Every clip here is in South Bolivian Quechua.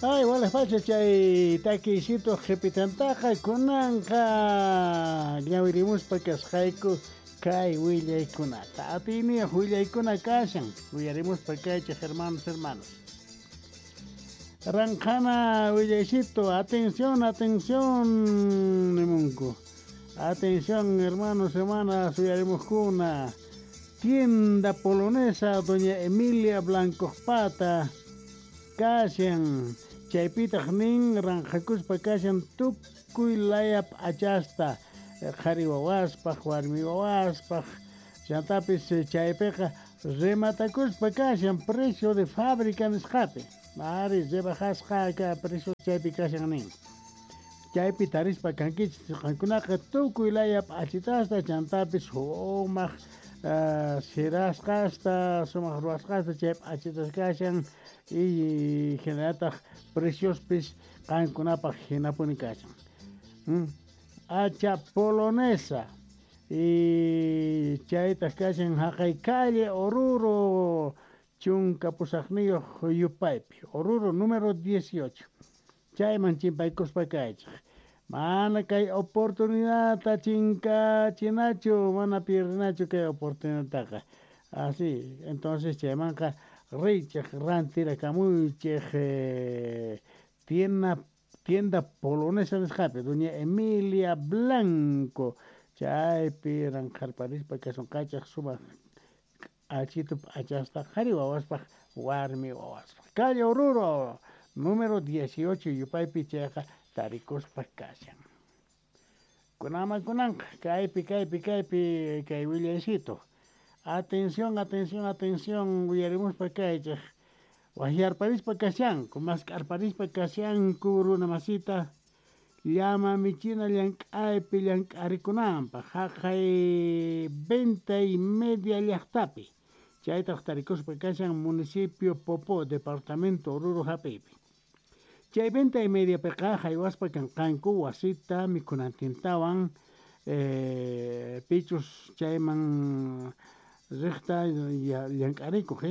Ay, walej pacha chay takiysitu qhipitantaqa kunanqa ñawirimuspa kasqayku kay willaykunata. Atiyniyuq willaykuna kashan. Uyarimuspa kaychej, hermanos, hermanos. Ranqhana willaycito, atención, atención, nimunku. Atención, hermanos, hermanas, uyarimuqkuna. Tienda polonesa Doña Emilia Blanco Pata kashan. Chaypitaq nin ranqhakuspa kashan tukuy laya p'achasta, qhari wawaspaq, warmi wawaspaq. Chantapis chaypiqa rematakuspa kashan precio de fábrica nisqapi. Ari rebajasqa ka precio chaypi kashan nin. Chaypi tarispa kankichis qankunaqa tukuy laya p'achitasta, chantapis sumaq sirasqasta, sumaq ruwasqasta chay p'achitas kashan y hinallataq preciospis qankunapaq hinapuni kashan. Hacha polonesa y chaytaq kashan haqay calle Oruro 18 yupaypi, Oruro número 18. Chayman chimpaykuspa kaychej. Mana kay oportunidadta chinkachinachu, mana pierdinachu kay oportunidadtaqa. Así, entonces chaymanqa riychej rantirakamuychej tienda polonesa nisqapi, Doña Emilia Blanco. Chaypi ranqharparispa kasunqachej sumaq achitu p'achasta qhari wawaspaq, warmi wawaspaq. Calle Oruro número 18 yupaypi chayqa tarikuspa kashan. Kunaman kunanqa kaypi kaypi kaypi kay willaycito. Atención, atención, atención, uyarimuspa kaychej. Wajyarparispa kashanku, mask'arparispa kashanku runa masita llama michina llank'aypi llank'arikunanpaq haqay Venta y Media llaqtapi. Chaytaq tarikuspa kashan municipio Popó, departamento Oruro hap'iypi. Chay Venta y Mediapiqa haywaspa kanqanku wasita mikhunantintawan, pichus chayman riqta llank'arikuq,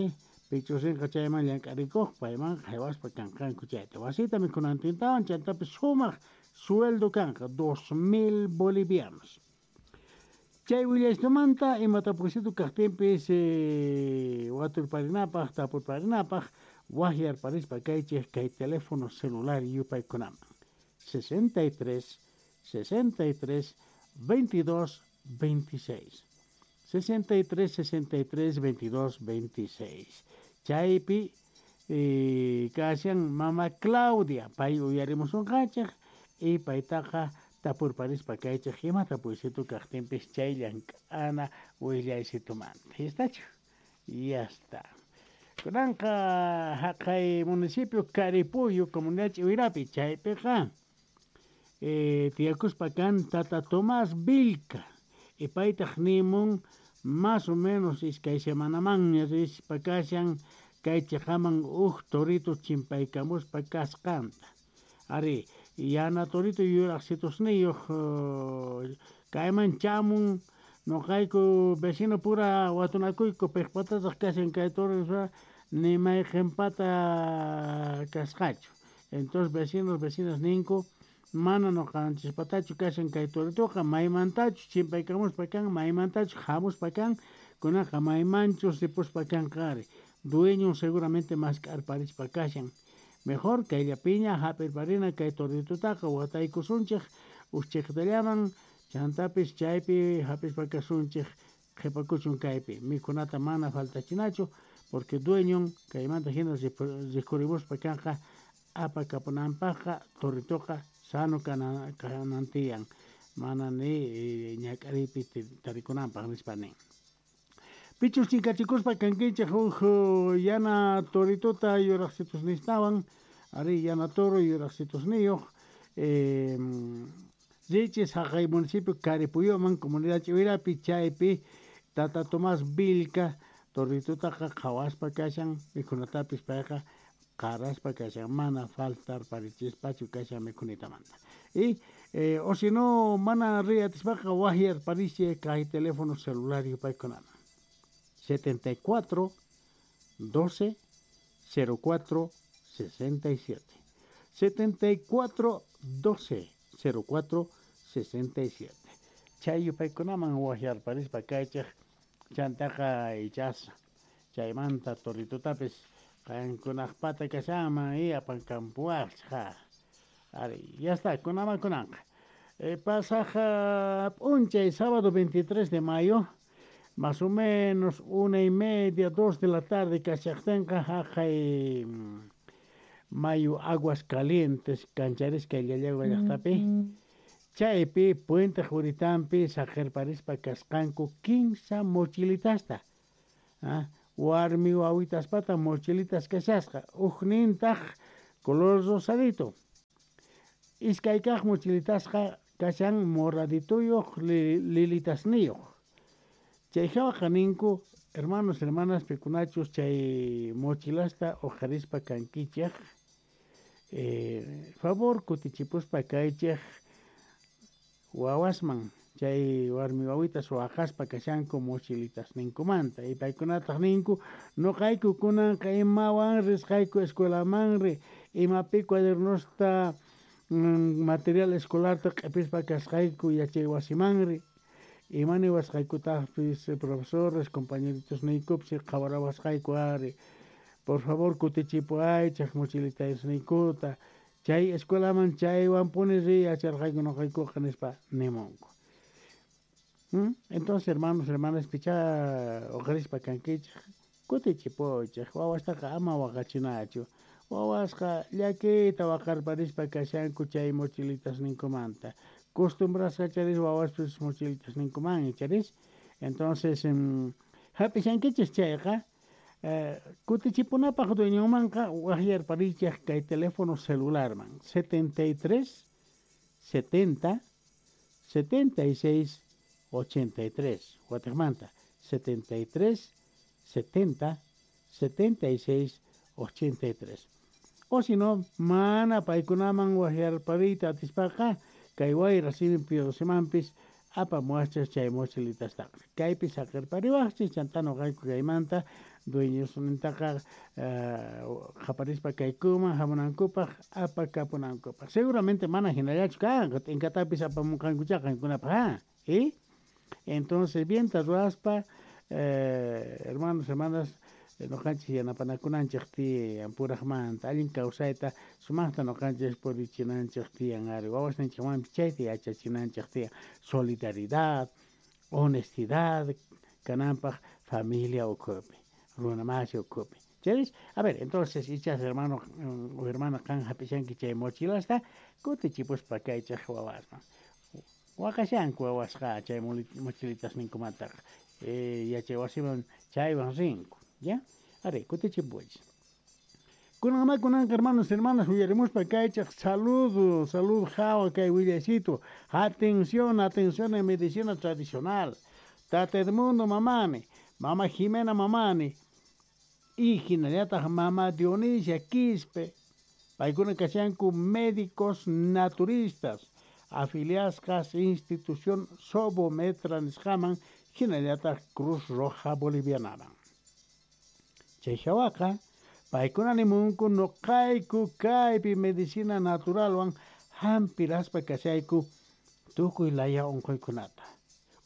pichus rinqa chayman llank'arikuq, payman haywaspa kanqanku chayta. Wasita mikhunantintawan chantapis sumaq sueldo kanqa 2000 bolivianos. Chay willaysitumanta ima tapuysitu kaqtinpis, waturparinapaq, tapurparinapaq, wajyarparispa kaychej kay teléfono celular yupaykunaman. 63 63 22 26. 63 63 22 26. Chaypi kashan mama Claudia, pay uyarimusunqachej y paytaqa tapurparispa kaychej ima tapuysitu kaqtinpis chay llank'ana willaysitumanta. ¿Estachu? Ya está. Kunanqa haqay municipio Caripuyo, comunidad Ch'iwirapi, chaypiqa tiyakuspa kan tata Tomás Vilca. Y paytaq nimun más o menos iskay semanamanña rispa kashan kay chiqaman uj torito chimpaykamuspa kasqanta. Ari, yana torito yuraqsitusniyuq kayman chamun noqayku vecino pura watunakuyku piqpatataq kashan kay toro ni mayqinpata kasqachu. Entonces vecinos, vecinas ninku mana noqanchispatachu kashan kay toritoqa, maymantachu chimpaykamuspa kan, maymantachu hamuspa kan, kunaqa maymanchus ripuspa kanqa ari. Dueño seguramente mask'arparispa kashan. Mejor kayllapiña hap'irparina kay toritutaqa wataykusunchej uschiktallaman, chantapis chaypi hap'ispa kasunchej qhipakuchun kaypi. Mikhunata mana faltachinachu porque dueñon kaymanta hina rikhurimuspa kanqa apakapunanpaqqa toritoqa sano kanantiyan, mana ni ñak'ariypi tarikunanpaq nispa nin. Pichus chinkachikuspa kankichej uj yana torituta yuraqsitusnistawan, ari yana toro yuraqsitusniyuq, richis haqay municipio Caripuyuman, comunidad Ch'iwirapi, chaypi tata Tomás Vilca toritutaqa qhawaspa kashan, mikhunatapis payqa qaraspa kashan, mana faltarparichispachu kashan mikhunitamanta. Y o si no mana riyatispaqa wajyarparichi kay teléfono celular yupaykunaman. 74 12 04 67. 74 12 04 67. Chay yupaykunaman wajyarparispa kaychej chantaqa ichas chaymanta toritotapis qankunaqpata kashanman y apankampuwaqchej. Ari, ya está, kunaman kunanqa. Pasaj p'unchay sábado 23 de mayo, más o menos 1:30, 2 de la tarde kashaqtinqa haqay mayu Aguas Calientes kancharisqa Llallagua llaqtapi. Chaypi puente juritampi saqirparispa kasqanku 15 mochilitasta. Warmi wawitaspata mochilitas kashasqa, ujnintaq color rosadito. Iskay kaq mochilitasqa kashan moradituyuq lilitasniyuq. Chay hawaqa ninku, hermanos, hermanas, pikunachus chay mochilasta uqharispa kankichej, favor kutichipuspa kaychej wawasman chay warmi wawitas waqaspa kashanku mochilitasninkumanta. Y paykunataq ninku, noqayku kunanqa imawan risqayku escuelamanri, imapi cuadernosta material escolarta q'ipispa kasqayku yachay wasimanri, imani wasqaykutaqpis profesores, compañeritos niykupis qhawarawasqayku ari, por favor kutichipuaychej mochilitasniykuta, chay escuelaman chaywanpuni riy yacharqayku noqaykuqa nispa nimunku. Entonces, hermanos, hermanas, pichá uqharispa kankichej, kutichipuychej, wawastaqa ama waqachinachu. Wawasqa llakiyta waqarparispa kashanku chay mochilitasninkumanta. Costumbrasqa charis wawaspis mochilitasninkuman charis. Entonces, hap'ishankichis chayqa, kutichipunapaq dueñonmanqa waqyarparichej kay teléfono celularman 73 70 76 83. Watiqmanta 73 70 76 83. O si no, mana paykunaman waqyarpariyta atispaqa kay wayra simipi wasimanpis apamuwachej chay mochilitastaqa. Kaypi saqirpariwaqchis chanta noqayku kaymanta dueñosnintaqa qhaparispa kaykuman hamunankupaq apakapunankupaq. Seguramente mana hinallachu kanqa, t'inkatapis apamunqankucha qankunapaq, ¿eh? Entonces, bien ruwaspa, hermanos, hermanas, noqanchis yanapanakunanchej tiyan purajmanta, allin kawsayta sumaqta noqanchis purichinanchej tiyan ari, wawasninchikmanpis chayta yachachinanchej tiyan, solidaridad, honestidad kananpaq familia ukhupi, runa masi ukhupi. Chayris, a ver, entonces ichas hermano o hermana qan hap'ishanki chay mochilasta kutichipuspa kaychej wawasman. Waqashanku wawasqa chay mochilitasninkumantaqa, yachay wasiman chaywan rinku. ¿Ya? Ari, kutichipuychis. Kunanma kunanqa hermanos, hermanas, uyarimuspa kaychej saludo, salud hawa kay willaycito. Atención, atención en medicina tradicional. Tata Edmundo mamani, mama Jimena mamani, y hinallataq mama Dionisia Quispe. Paykuna kashanku médicos naturistas, afiliasqas institución Sobometra nisqaman, hinallataq Cruz Roja Bolivianaman. Chay hawaqa paykuna nimunku noqayku kaypi medicina naturalwan hampiraspa kashayku tukuy laya unquykunata,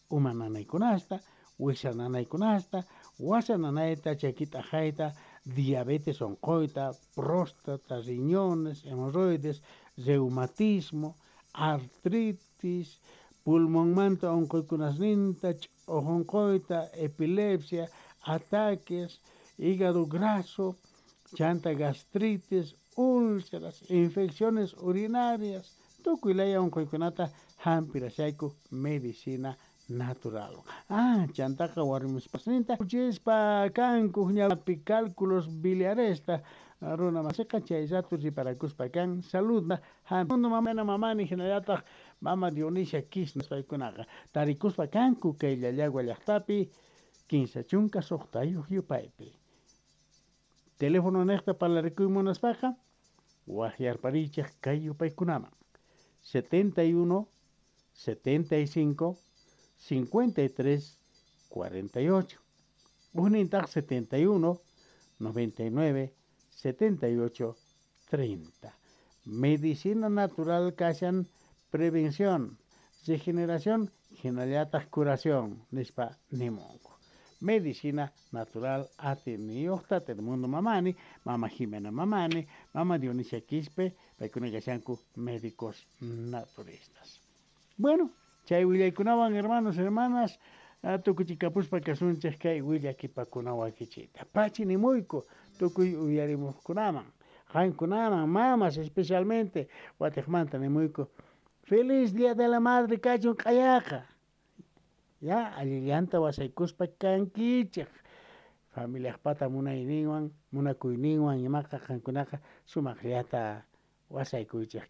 uma nanaykunasta, wisa nanaykunasta, wasa nanayta, chakit'aqayta, diabetes unquyta, próstata, riñones, hemorroides, reumatismo, artritis, pulmonmanta unquykunasninta, ch'uq unquyta, epilepsia, ataques, hígado graso, chanta gastritis, úlceras, infecciones urinarias, tukuy laya unquykunata hampirashayku medicina natural. Chantaqa warmispasninta uchispa kanku ñapi cálculos biliaresta runa masiqa chay rato riparakuspa kan saludna hampi mamana mamani hinallataq mama Dionisia Quispe paykunaqa tarikuspa kanku kay Llallagua llaqtapi 16 yupaypi. Teléfono niqta parlarikuy munaspaqa waqyarparichej kay yupaykunaman 71 75 53 48. Ujnintaq 71 99 78 30. Medicina natural kashan prevención, regeneración, hinallataq curación, nispa nimunku. Medicina natural atiniyuqta Mundo Mamani, Mama Jimena Mamani, Mama Dionisia Quispe, paykuna kashanku médicos naturistas. Bueno, chay willaykunawan hermanos, hermanas, tukuchikapuspa kasunchik kay willakipakunawakichita. Pachi nimuyku tukuy uyarimuqkunaman, qankunaman, mamas especialmente, watiqmanta nimuyku. Feliz Día de la Madre kachun q'ayaqa. Ya, allillanta wasaykuspa kankichik. Familiaqpata munayninwan, munakuyninwan imaqa qankunaqa sumaqllata wasaykuychik.